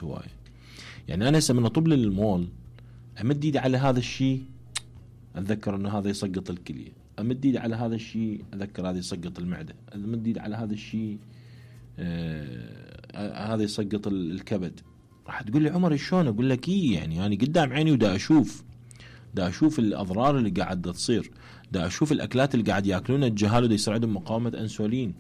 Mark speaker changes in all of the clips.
Speaker 1: هواية. يعني انا هسه من اطب للمول امد ايدي على هذا الشيء اتذكر انه هذا يسقط الكلية، امد ايدي على هذا الشيء اتذكر هذا يسقط المعدة، امد ايدي على هذا الشيء هذا يسقط الكبد. راح تقول لي عمر شلون؟ اقول لك يعني انا قدام عيني ودا اشوف الاضرار اللي قاعده تصير، دا اشوف الاكلات اللي قاعد ياكلونها الجهال ودا يساعدهم مقاومه انسولين،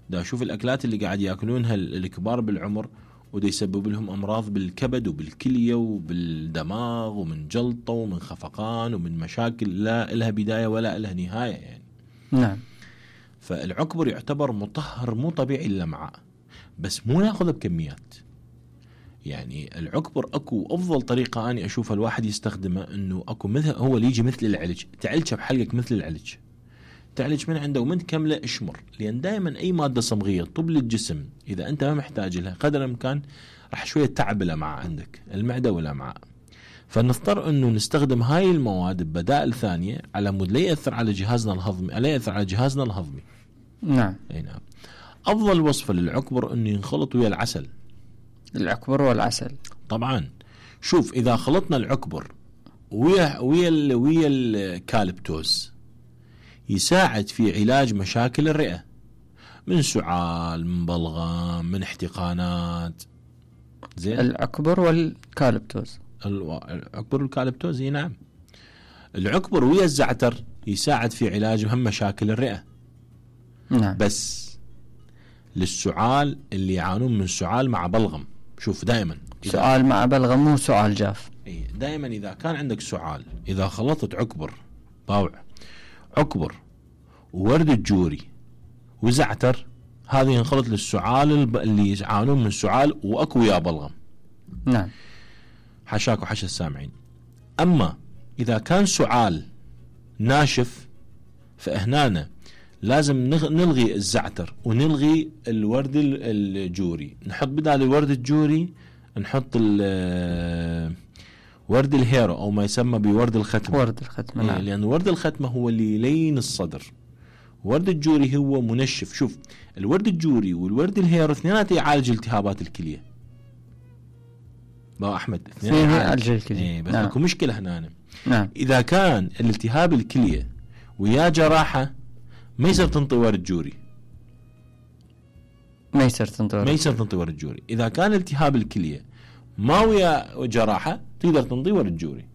Speaker 1: دا اشوف الاكلات اللي قاعد ياكلونها الكبار بالعمر ودا يسبب لهم امراض بالكبد وبالكليه وبالدماغ ومن جلطه ومن خفقان ومن مشاكل لا لها بدايه ولا لها نهايه يعني.
Speaker 2: نعم.
Speaker 1: فالعكبر يعتبر مطهر مو طبيعي للامعاء، بس مو ناخذه بكميات. يعني العكبر اكو افضل طريقه اني اشوفها الواحد يستخدمه، انه اكو مثل هو اللي يجي مثل العلج، تعلجه بحلقك مثل العلج، تعلج من عنده ومن كمله اشمر، لان دائما اي ماده صمغيه طب للجسم اذا انت ما محتاج لها قدر الامكان راح شويه تعب الامعاء عندك، المعده والامعاء. فنضطر انه نستخدم هاي المواد ببدائل ثانيه على مود لا ياثر على جهازنا الهضمي، لا ياثر على جهازنا الهضمي.
Speaker 2: نعم.
Speaker 1: اي نعم. افضل وصفه للعكبر انه ينخلط ويا العسل.
Speaker 2: العكبر والعسل
Speaker 1: طبعا. شوف اذا خلطنا العكبر ويا الكالبتوز يساعد في علاج مشاكل الرئه، من سعال، من بلغم، من احتقانات. زين.
Speaker 2: العكبر والكالبتوز.
Speaker 1: العكبر والكالبتوز. نعم. العكبر ويا الزعتر يساعد في علاج هم مشاكل الرئه.
Speaker 2: نعم.
Speaker 1: بس للسعال اللي يعانون من سعال مع بلغم، شوف دائما
Speaker 2: سعال مع بلغم مو سعال جاف.
Speaker 1: دائما اذا كان عندك سعال، اذا خلطت عكبر طاوع عكبر وورد الجوري وزعتر، هذه ينخلط للسعال اللي يعانون من سعال واكو يا بلغم.
Speaker 2: نعم.
Speaker 1: حشاك وحش السامعين. اما اذا كان سعال ناشف فهنا لازم نلغي الزعتر ونلغي الورد الجوري، نحط بدال الورد الجوري نحط ورد الهيرو او ما يسمى بورد الختمه.
Speaker 2: ورد الختمه. نعم.
Speaker 1: لان ورد الختمه هو اللي يلين الصدر، ورد الجوري هو منشف. شوف الورد الجوري والورد الهيرو اثنيناتهم يعالج التهابات الكليه. با احمد
Speaker 2: اثنين يعالج الكليه.
Speaker 1: بس اكو مشكله هنا.
Speaker 2: نعم.
Speaker 1: اذا كان الالتهاب الكليه ويا جراحه ما يصير تنطي ورد جوري،
Speaker 2: ما يصير تنطي
Speaker 1: ورد جوري. إذا كان التهاب الكلية ما ويا جراحة تقدر تنطي ورد جوري،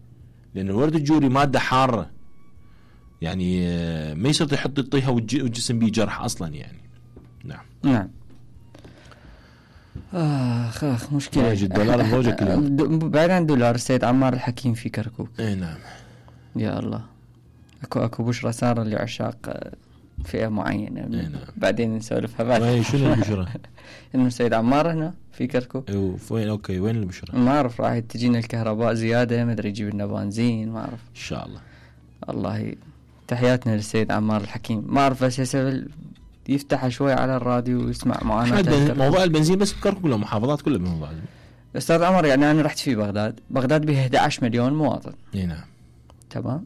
Speaker 1: لأن الورد الجوري مادة حارة، يعني ما يصير يطيها والجسم بيه جرح أصلا يعني. نعم.
Speaker 2: نعم. آخ مشكلة.
Speaker 1: $1 الزوجة كله.
Speaker 2: بعيد عن دولار، السيد عمار الحكيم في كركوك.
Speaker 1: نعم.
Speaker 2: يا الله. أكو بشرى صار لعشاق فئة معينة.
Speaker 1: نعم.
Speaker 2: بعدين نسولفها بعد.
Speaker 1: شنو البشرة؟
Speaker 2: إنه السيد عمار هنا في كركوك.
Speaker 1: وين أوكي وين البشرة؟
Speaker 2: ما أعرف، راح تجينا الكهرباء زيادة، ما أدري يجيب لنا بنزين، ما أعرف.
Speaker 1: إن شاء الله.
Speaker 2: الله تحياتنا للسيد عمار الحكيم. ما أعرف بس يفتح شوي على الراديو ويسمع معاناة.
Speaker 1: موضوع البنزين بس بكركوك ولا محافظات كلها بموضوع البنزين؟
Speaker 2: أستاذ عمر يعني أنا رحت في بغداد بها 11 مليون مواطن.
Speaker 1: نعم.
Speaker 2: تمام.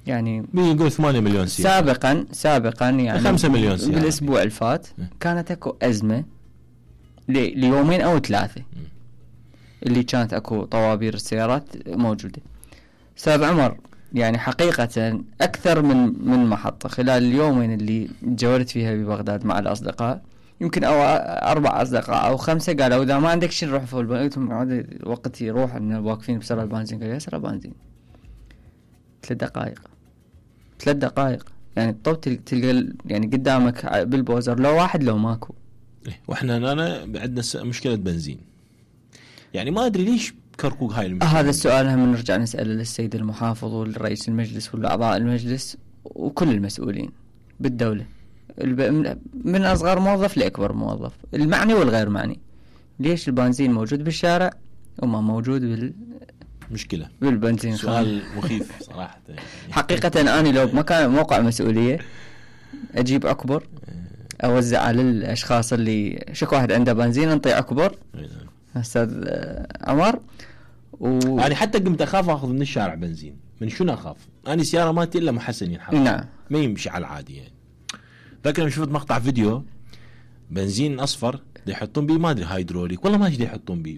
Speaker 2: يعني
Speaker 1: بيقول 8 مليون سيارة.
Speaker 2: سابقا يعني
Speaker 1: 5 مليون سيارة.
Speaker 2: بالأسبوع الفات كانت أكو أزمة ليومين أو 3 اللي كانت أكو طوابير السيارات موجودة. أستاذ عمر يعني حقيقة أكثر من محطة خلال اليومين اللي تجولت فيها ببغداد مع الأصدقاء، يمكن أو 4 أصدقاء أو 5 قالوا إذا ما عندك شيء نروح فوق البنزين. وقت يروح إن واقفين بسرعة البنزين، قال يا سرعة بنزين 3 دقائق يعني الطب تلقى يعني قدامك بالبوزر لو واحد لو ماكو.
Speaker 1: واحنا هنا عندنا مشكلة بنزين، يعني ما أدري ليش كركوك هاي المشكلة.
Speaker 2: هذا السؤال هم نرجع نسأله للسيد المحافظ والرئيس المجلس والأعضاء المجلس وكل المسؤولين بالدولة، من أصغر موظف لأكبر موظف، المعني والغير معني. ليش البنزين موجود بالشارع وما موجود مشكلة بالبنزين؟
Speaker 1: سؤال مخيف صراحة.
Speaker 2: حقيقة أنا لو بمكان موقع مسؤولية أجيب عكبر أوزع على الأشخاص اللي شك واحد عنده بنزين انطي عكبر. أستاذ عمر
Speaker 1: أنا حتى قمت أخاف أخذ من الشارع بنزين. من شنو أخاف؟ أنا سيارة ما إلا محسن ينحط.
Speaker 2: نعم.
Speaker 1: ما يمشي على العادي يعني. فاكر شفت مقطع فيديو بنزين أصفر يحطون بيه ما أدري هيدروليك والله ما أدري يحطون بيه،